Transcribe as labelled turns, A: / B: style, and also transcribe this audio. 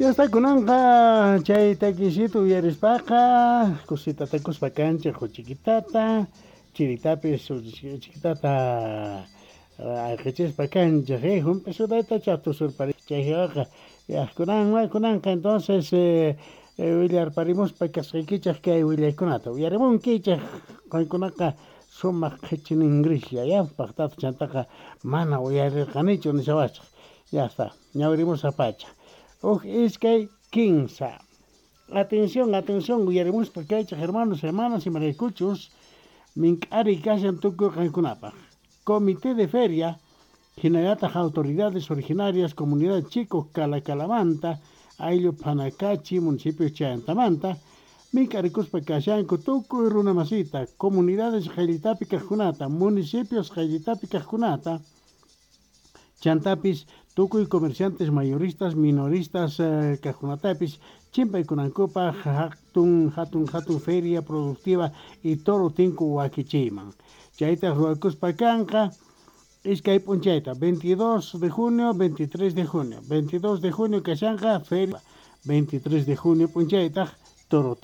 A: Ya está kunanqa chay takisita uyarispaqa kusita takuspa kanchej chiquitata chiritapis chiquitata ayqichispa kanchej jump'i sudaytacha tusurpari chay waqa ya kunan kunanqa entonces willarparimuspa kasqaykichej kay willaykunata uyarimunkichej qankunaqa sumaq qhichiningrishlla ya paqtata chantaqa mana uyarirqanichu nishawachej. Ya está, ñawirimusaq pacha. Uj iskay kinsa. Atención, atención, uyarimuspa kaychej hermanos, hermanas, imaraykuchus mink'ari kashan tukuy qankunapaj. Comité de Feria, hinallataq autoridades originarias, comunidad Chico Calacalamanta, ayllu Panacachi, municipio Chayantamanta, mink'arikuspa kashanku tukuy runa masita, comunidades qayllitapi kajkunata, municipios qayllitapi kajkunata, chantapis tukuy comerciantes mayoristas, minoristas kajkunatapis chimpaykunankupaj hatun hatun hatun feria productiva y toro tinku wakichiyman. Chaytaj ruwakuspa kanqa iskay p'unchayta 22 de junio, 23 de junio. 22 de junio kashanqa feria, 23 de junio p'unchaytaj toro.